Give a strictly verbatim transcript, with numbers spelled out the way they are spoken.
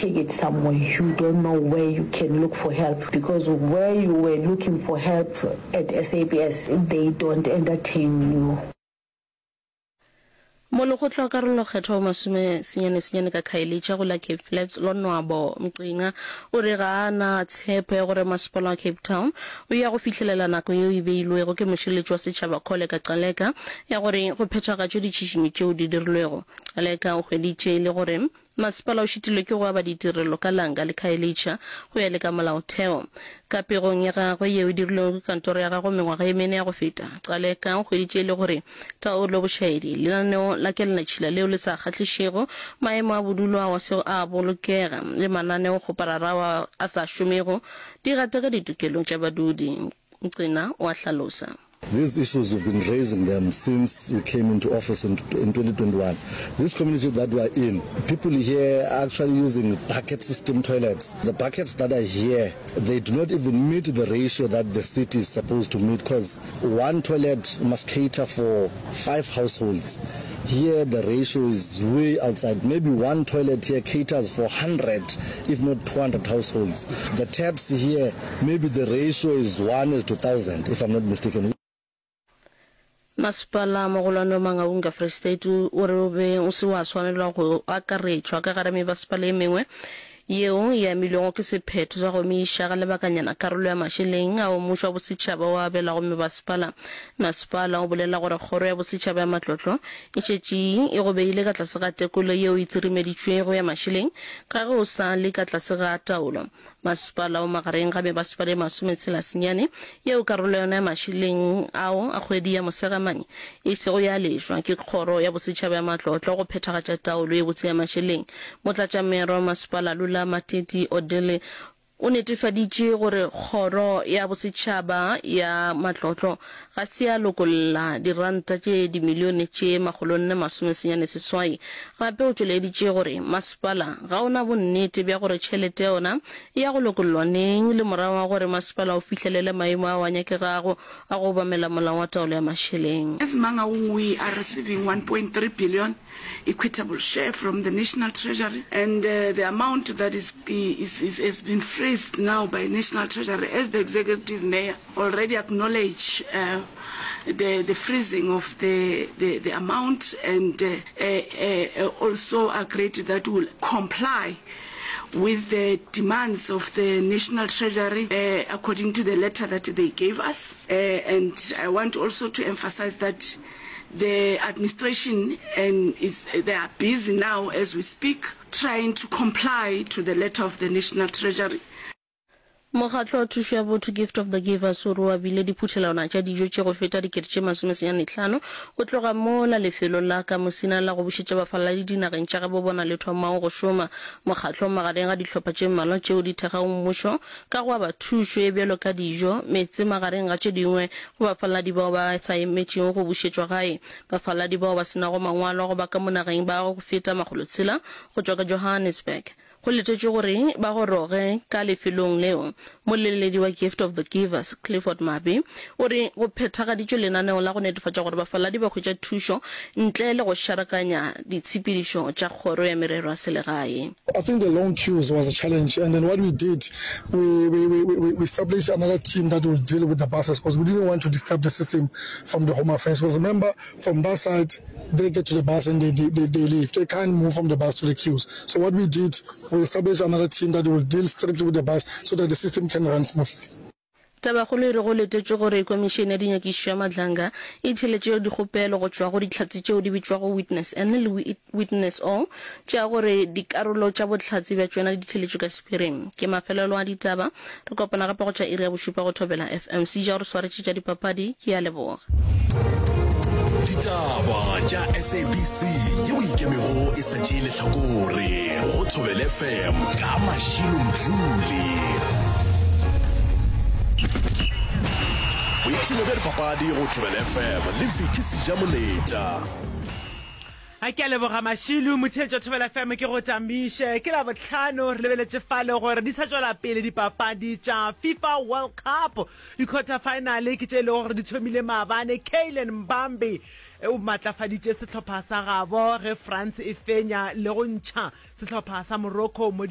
take it somewhere you don't know where you can look for help because where you were looking for help at S A B S they don't entertain you. Molekgotla wa karolokgethwa wa masome senyane senyane ka Khayelitsha go la Cape Flats, Lonwabo Mqinga, o re ga a na tshepo ya gore masepala wa Cape Town o ya go fihlelela nako yeo e beilwego ke mošireletši wa setšhaba Kholeka Gcaleka ya gore go phethagatšwe ditšhišinyo tšeo di dirilwego. Gcaleka o hweditše e le gore Masepala o šitilwe ke go aba ditirelo ka Langa le Khayelitsha go ya le ka molaotheo. Ka pegong ya gagwe yeo e dirilwego ke kantoro ya gagwe mengwaga ye mene ya go feta, Gcaleka o hweditše e le gore taolo bošaedi, lenaneo la kelelatšhila leo le sa kgahlišego, maemo a bodulo ao a sego a bolokega le mananeokgoparara ao a sa šomego di gataka ditokelo tša badudi. Mqina o a hlalosa. These issues we've been raising them since we came into office in, in twenty twenty-one. This community that we are in, people here are actually using bucket system toilets. The buckets that are here, they do not even meet the ratio that the city is supposed to meet because one toilet must cater for five households. Here the ratio is way outside. Maybe one toilet here caters for one hundred, if not two hundred households. The taps here, maybe the ratio is one is to one thousand, if I'm not mistaken. Masepala mogolwane wa Mangaung ka Free State o re o be o se wa swanelwa go akaretšwa ka gare mebasepala e mengwe yeo e amilwego ke sephetho sa go emiša ga lebakanyana karolo ya mašeleng ao mmušo wa bosetšhaba o a abelago mebasepala. Masepala o bolela gore kgoro ya bosetšhaba ya matlotlo e šetše e go beile ka tlase ga tekolo yeo e tsirimeditšwego ya mašeleng ka ge o sa le ka tlase ga taolo. Masepala o magareng ga mebasepala e masometshela senyane yeo karolo ya yona ya mašeleng ao a kgwedi ya Mosegamanye e sego ya lešwa ke Kgoro ya Bosetšhaba ya Matlotlo go phethagatša taolo ye botse ya mašeleng. Motlatšameyara wa masepala Lula Mateti Odele o netefaditše gore Kgoro ya Bosetšhaba ya Matlotlo ga se ya lokolla diranta tše dimilione tše makgolonne masomesenyane seswai. Gape o tšweleditše gore masepala ga o na bonnete bja gore tšhelete ya ona e ya go lokollwa neng le morago ga gore masepala o fihlelele maemo ao a nyakegago a go obamela molao wa taolo ya mašeleng. As Mangaung, we are receiving one point three billion equitable share from the National Treasury, and uh, the amount that is, is, is, has been freezed now by National Treasury, as the Executive Mayor already acknowledged uh, the, the freezing of the, the, the amount and uh, uh, uh, also agreed that we will comply with the demands of the National Treasury uh, according to the letter that they gave us. Uh, and I want also to emphasize that the administration and is, they are busy now as we speak trying to comply to the letter of the National Treasury. Mokgatlo wa Thušo ya Botho Gift of the Givers o re o abile diphuthelwana tša dijo tše go feta dikete tše masomesenyane hlano go tloga mola lefelo la ka Musina la go bušetša bafaladi dinageng tša gabo bona le thomago go šoma. Mokgatlo o magareng ga dihlopha tše mmalwa tšeo di thekgago mmušo ka go aba thušo e bjalo ka dijo, meetse magareng ga tše dingwe go bafaladi bao ba sa emetšego go bušetšwa gae. Bafaladi bao ba se nago mangwalo a go ba ka mo nageng ba go feta makgolotshela go tšwa ka Johannesburg go letetšwe gore ba goroge ka lefelong leo. Moleledi wa Gift of the Givers Clifford Mabe o re go phethagaditšwe lenaneo la go netefatša gore bafaladi ba hwetša thušo ntle le go šarakanya ditshepedišo tša kgoro ya merero ya selegae. I think the long queues was a challenge, and then what we did, we, we, we, we, we established another team that will deal with the buses because we didn't want to disturb the system from the Home Affairs. Because remember, from that side, they get to the bus and they, they, they, they leave. They can't move from the bus to the queues. So what we did, we established another team that will deal strictly with the bus so that the system can run smoothly. Tabakgolo e re go letetšwe gore komišene ya dinyakišišo ya Madlanga e theeletše dikgopelo go tšwa go dihlatse tšeo di bitšwago Witness N le Witness O tša gore dikarolo tša bohlatse bja tšona di theeletšwe ka sephiring. Ke mafelelo a ditaba. Re kopana gape go tša iri ya bošupa go Thobela F M. Seja o re swaretše tša dipapadi. Ke a leboga. Ditaba tša S A B C yeo ikemego e sa tšee lehlakore go Thobela F M ka Mashilo Mdluli. Boipshino bja dipapadi go Thobela F M le Vicky Sejamoletša. A ke a leboga Mašilu, motheetši wa Thobela F M ke go tamiše. Ke Labohlano, re lebeletše fale gore di sa tšwela pele dipapadi tša FIFA World Cup. Di-quarter final ke tše e lego gore di thomile maabane. Kylian Mbappe o matlafaditše sehlopha sa gabo ge France e fenya le go ntšha sehlopha sa Morocco mo